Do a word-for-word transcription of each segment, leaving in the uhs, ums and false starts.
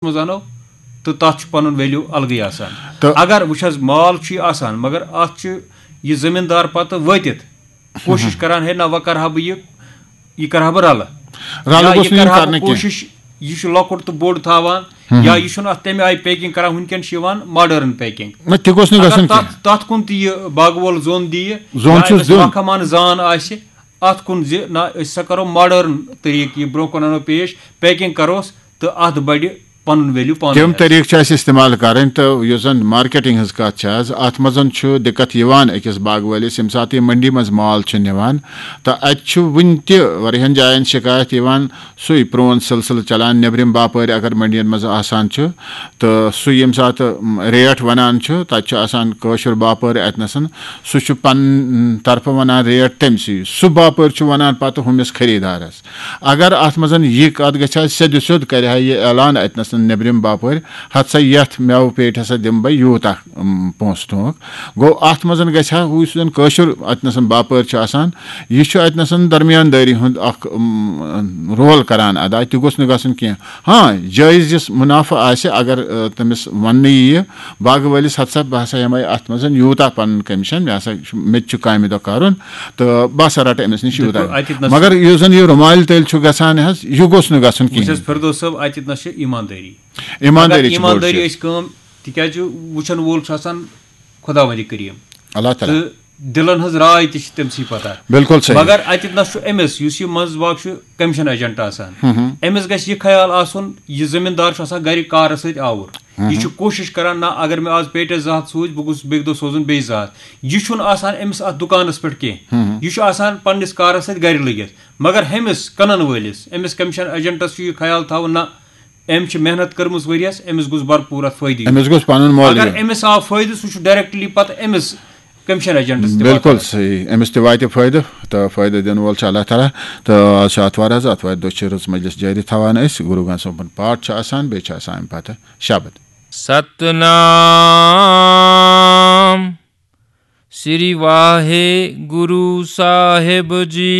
منٛز اَنو، تہٕ تَتھ چھُ پَنُن ویلیو الگٕے آسان۔ تہٕ اگر وٕچھ حظ، مال چھُ یہِ آسان، مگر اَتھ چھُ یہِ زٔمیٖندار پَتہٕ وٲتِتھ کوٗشِش کران، ہے نہ، وۄنۍ کَرٕ ہا بہٕ یہِ، یہِ کَرٕ ہا بہٕ رَلہٕ۔ رَلہٕ یا گوٚژھ یہِ نہٕ یُن کَرٕ ہا بہٕ کرنہٕ کینٛہہ۔ کوٗشِش، یہِ چھُ لۄکُٹ تہٕ بوٚڑ تھاوان، ہُم۔ یا یہِ چھُنہٕ اَتھ تَمہِ آیہِ پیکِنگ کران، وٕنکیٚن چھِ یِوان ماڈٲرٕن پیکِنگ۔ نہ، تہِ گوٚژھ نہٕ اگر گژھُن تَتھ، کینٛہہ۔ تَتھ کُن تہِ یہِ باغہٕ وول زوٚن دِیہِ، زوٚن یا چھُس أمِس دیُن۔ ماہ کمان زان آسہِ، اَتھ کُن زِ نہ، أسۍ ہسا کَرو ماڈٲرٕن طریٖقہٕ، یہِ برونٛہہ کُن اَنو پیش، پیکِنگ کَروس تہٕ اَتھ بَڑِ پَنُن ویلیو پانَے تِم حظ۔ طریٖقہٕ چھِ اَسہِ استعمال کَرٕنۍ، تہٕ یُس زَن مارکیٹِنگ ہٕنٛز کَتھ چھِ حظ، اَتھ منٛز چھُ دِقت یِوان أکِس باغہٕ وٲلِس، ییٚمہِ ساتہٕ یہِ مٔنڈی منٛز مال چھُ نِوان، تہٕ اَتہِ چھُ وُنہِ تہِ واریاہَن جایَن شِکایت یِوان، سُے پرٛون سلسلہٕ چلان، نیٚبرِم باپٲرۍ اگر مٔنڈِیَن منٛز آسان چھُ، تہٕ سُہ ییٚمہِ ساتہٕ، م، ریٹ وَنان چھُ، تَتہِ چھُ آسان کٲشُر باپٲرۍ اَتہِ نَسَن، سُہ چھُ پَنٕنۍ طرفہٕ وَنان ریٹ تٔمۍ سٕے۔ سُہ باپٲرۍ چھُ وَنان پَتہٕ ہُمِس خریٖدارَس۔ اگر اَتھ منٛز یہِ کَتھ گژھِ ہا سیٚدِ سیوٚد، کَرِ ہا یہِ اعلان اَتہِ نَسَن نیٚبرِم باپٲرۍ، ہَتہٕ سا یَتھ مٮ۪وٕ پیٹہِ ہسا دِمہٕ بہٕ یوٗتاہ، م، پونٛسہٕ تُہُنٛد۔ گوٚو، اَتھ منٛز گژھِ ہا ہُہ یُس زَن کٲشُر اَتہِ نَسَن باپٲرۍ چھُ آسان، یہِ چھُ اَتہِ نَسَن درمیان دٲری ہُنٛد اَکھ، م، رول کَران اَدا۔ تہِ گوٚژھ نہٕ گژھُن کینٛہہ۔ ہاں، جٲیِز یُس مُنافعہٕ آسہِ، اگر، آ، تٔمِس وَننہٕ یِیہِ باغہٕ وٲلِس، ہَتہٕ سا بہٕ ہسا ہٮ۪مَے اَتھ منٛز یوٗتاہ پَنُن کٔمِشَن، مےٚ ہسا چھُ، مےٚ تہِ چھُ کامہِ دۄہ کَرُن، تہٕ بہٕ ہسا رَٹہٕ أمِس نِش یوٗتاہ۔ دَپُن، اَتہِ نَس مگر یُس زَن یہِ رُمالہِ تٔلۍ چھُ گژھان حظ، یہِ گوٚژھ نہٕ گژھُن وٕچھ حظ، کِہیٖنۍ۔ فردوس صٲب، اَتہِ نَس چھِ ایٖماندٲری۔ ایٖماندٲری اگر چھِ بٔڑ ایٖماندٲری چیٖز۔ أسۍ کٲم، تِکیٛازِ وٕچھَن وول چھُ آسان خۄداوندِ کٔریٖم۔ اللہ تعالیٰ۔ تہٕ دِلَن ہٕنٛز راے تہِ چھِ تٔمۍ سٕے پَتہ۔ بِلکُل صحیح۔ مگر اَتہِ نَس چھُ أمِس، یُس یہِ منٛز باگ چھُ، کٔمِشَن ایجنٹ آسان، ہُم ہُم۔ أمِس گژھِ یہِ خیال آسُن، یہِ زٔمیٖندار چھُ آسان گَرِ کارَس سۭتۍ آوُر۔ ہُم یہِ ہُم۔ چھُ کوٗشِش کَران، نہ، اگر مےٚ آز پیٹٮ۪س زٕ ہَتھ سوٗزۍ، بہٕ گوٚژھُس بیٚکہِ دۄہ سوزُن بیٚیہِ زٕ ہَتھ۔ یہِ چھُنہٕ آسان أمِس اَتھ دُکانَس پٮ۪ٹھ کینٛہہ۔ ہُم ہُم۔ یہِ چھُ آسان پنٛنِس کارَس سۭتۍ گَرِ لٔگِتھ۔ مگر ہُمِس کٕنَن وٲلِس، أمِس کٔمِشَن ایجنٹَس چھُ یہِ خیال تھاوُن، نہ، أمۍ چھِ محنت کٔرمٕژ ؤریَس، أمِس گوٚژھ بھرپوٗر اَتھ فٲیدٕ یُن۔ أمِس گوٚژھ پَنُن مۄل اگر یُن۔ أمِس آو فٲیدٕ، سُہ چھُ ڈایریکٹلی پَتہٕ أمِس کٔمِشَن ایجنٹَس تہِ بِلکُل واتان۔ صحیح، أمِس تہِ واتہِ فٲیدٕ، تہٕ فٲیدٕ دِنہٕ وول چھُ اللہ تعالیٰ۔ تہٕ آز چھُ آتھوار حظ، آتھوارِ دۄہ چھِ رٕژ مجلس جٲری تھاوان أسۍ۔ گُروٗ گرنتھ صٲبُن پاٹھ چھُ آسان، بیٚیہِ چھُ آسان اَمہِ پَتہٕ شبد۔ सतनाम श्री वाहे गुरु साहेब जी।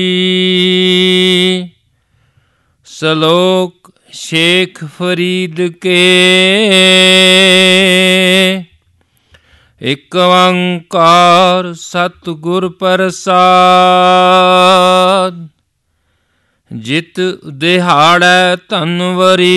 श्लोक शेख फरीद के। एक ओंकार सतगुर प्रसाद। जित दिहाड़ै धनवरी,